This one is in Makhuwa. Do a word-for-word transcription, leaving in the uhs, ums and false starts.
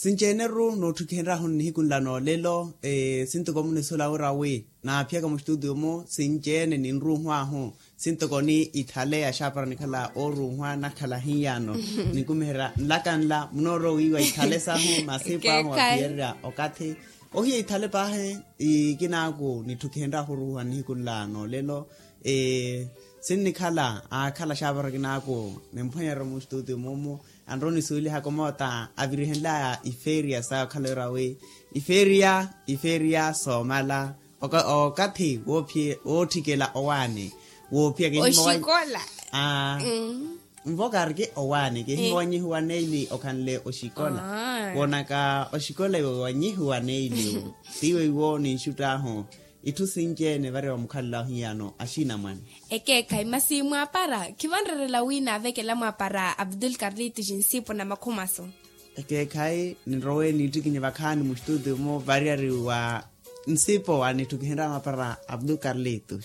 Sinci-ene-ru nootthukihenryahu nihiku nla noolelo. Sintoko munisula wira wi naaphiyaka muxtuutiyo-mu sinci-ene ninruuhwaahu. Sintoko ni ithale axaapara nikhala ooruuhwa nakhala hiyano. Ninkumiherya nlaka nla munoorowa wiiwa ithale sahu masipu ahu aphiyererya okathi. Ohiya ithale paahi ikinaaku nitthukihenryahu oruuhwa nihiku nla noolelo. Sinnikhala aakhala axaapara kinaaku nimphwanyerya muxtuutiyo-mu. Anrowa onisuwelihaka omoota avirihenlaya ifeeriya saya okhala wira wi ifeeriya ifeeriya soomala okathi wootthikela owaani. Woophiyaka oxikola. Nvo kaariki owaani kihiwa wanyihiwa neili okhanle oxikola. Woonaka oxikola iwe wanyihiwa neili. Tiiwe iwo ninxutt'ahu itthu sinci-ene vari wamukhalelaho hiyano axiinamwane. Ekeekhayi masi mwaapara khivanrerela wi naavekela mwaapara abdul karlito xinsipu na makhumaso. Ekeekhayi ninrowe niittikinye vakhaani muxtuutiyo-mu variyari wa nsipo anitthukihenrya mwaapara abdul karlito.